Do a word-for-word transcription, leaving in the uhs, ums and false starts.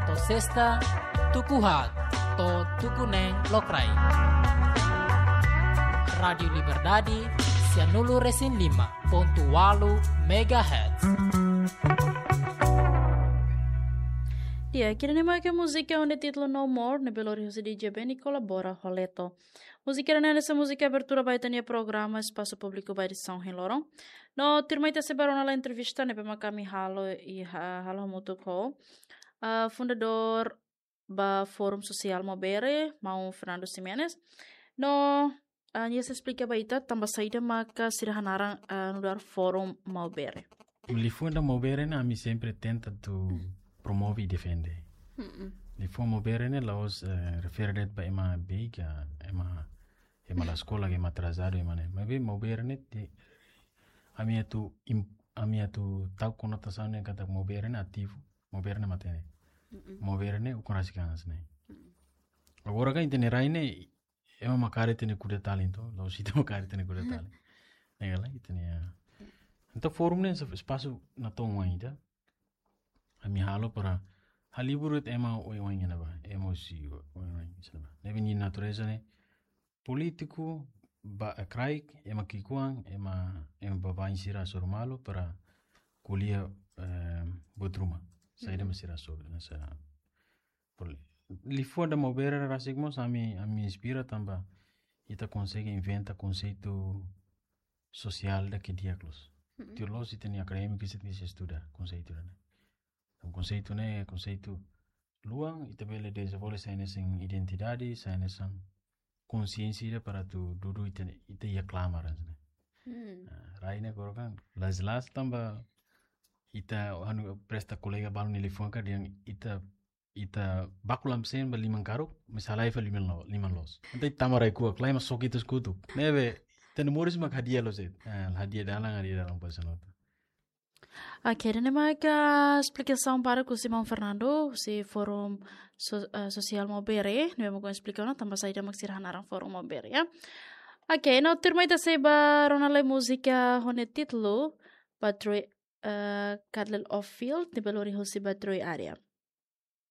To'o sesta, tuku haat to'o tuku neen lokraik. Rádiu Liberdade, sianulu resin lima pontu walu megahertz. Di'ak, ida-ne'e mak múzika ho títulu No More, ne'ebé lori husi D J Benny kolabora ho Leto. Múzika ida-ne'e hanesan múzika abertura ba ita-nia programa Espasu Públiku ba edisaun ohin loron. No tuirmai ita sei bá rona lai entrevista ne'ebé mak ami halo i ha-, halo hamutuk ho, ah, fundadór ba Fórum Sosiál Maubere, maun Fernando Ximenes. No, ah, nia sei esplika ba ita tanba saida maka sira hanaran, ah, nu'udar Fórum Maubere. Liafuan ida Maubere ne'e ami sempre tenta atu promove i defende. Mm-mm. Liafuan Maubere ne'e la'ós, eh, refere de'it ba ema beik, ema, ema la eskola, ema atrasadu, ema ne'e. Maibé Maubere ne'e te, ami atu im-, ami atu tau konotasaun ne'e katak Maubere ne'e ativu, Maubere ne'e matenek. Mm-mm. Maubere ne'e ukun rasik an hanesan ne'e. Mm-mm. Agora kan ita-nia rai ne'e, ema mak kaer ita-nia kuda-talin to, la'ós ita mak kaer ita-nia kuda-talin. Ne'e ka lae, ita-nia, ah. Entaun Fórum ne'e es-, espasu natoon oan ida. Ami halo para halibur de'it ema oioin iha ne'ebá, ema husi oioin iha ne'ebá. Ne'ebé nia natureza ne'e polítiku, ba, eh, kraik, ema ki'ikoan, ema, ema baibain sira hasoru malu para ko'alia, eh, buat ruma. Saida, mhm, mak sira hasoru, hanesan, por, liafuan ida Maubere rasik mós ami, ami inspira tanba ita konsege inventa konseitu sosiál ida ke di'ak loos. Mm-mm. Tuir loos ita-nia akadémiku sira tenke estuda konseitu ida-ne'e. Entaun konseitu ne'e, konseitu luan, ita bele dezenvolve sai hanesan identidade, sai hanesan konsiénsia ida para atu dudu ita, ita iha klamar hanesan ne'e. Mm. Ah, rai ne'e agora kan, las las tanba ita anu presta kolega balu nia liafuan ka dehan ita, ita baku lam sen ba liman karuk, maibé halai fali liman lo-, liman loos. Entaun ita tama rai kuak, lae mak soke ita-nia kotuk. Ne'ebé, ita-nia moris mak hadi'a loos de'it. Ah, hadi'a dalan, hadi'a dalan pasa nota. Oke, ida-ne'e mak esplikasaun badak husi maun Fernando, husi Fórum So-, eh, Sosiál Maubere, ne'ebé mak esplika ona tanba saida mak sira hanaran Fórum Maubere, ya. Oke, no tuirmai ita sei bá rona lai múzika ho títulu Battery, eh, Candle of Field, ne'ebé lori husi Battery Area.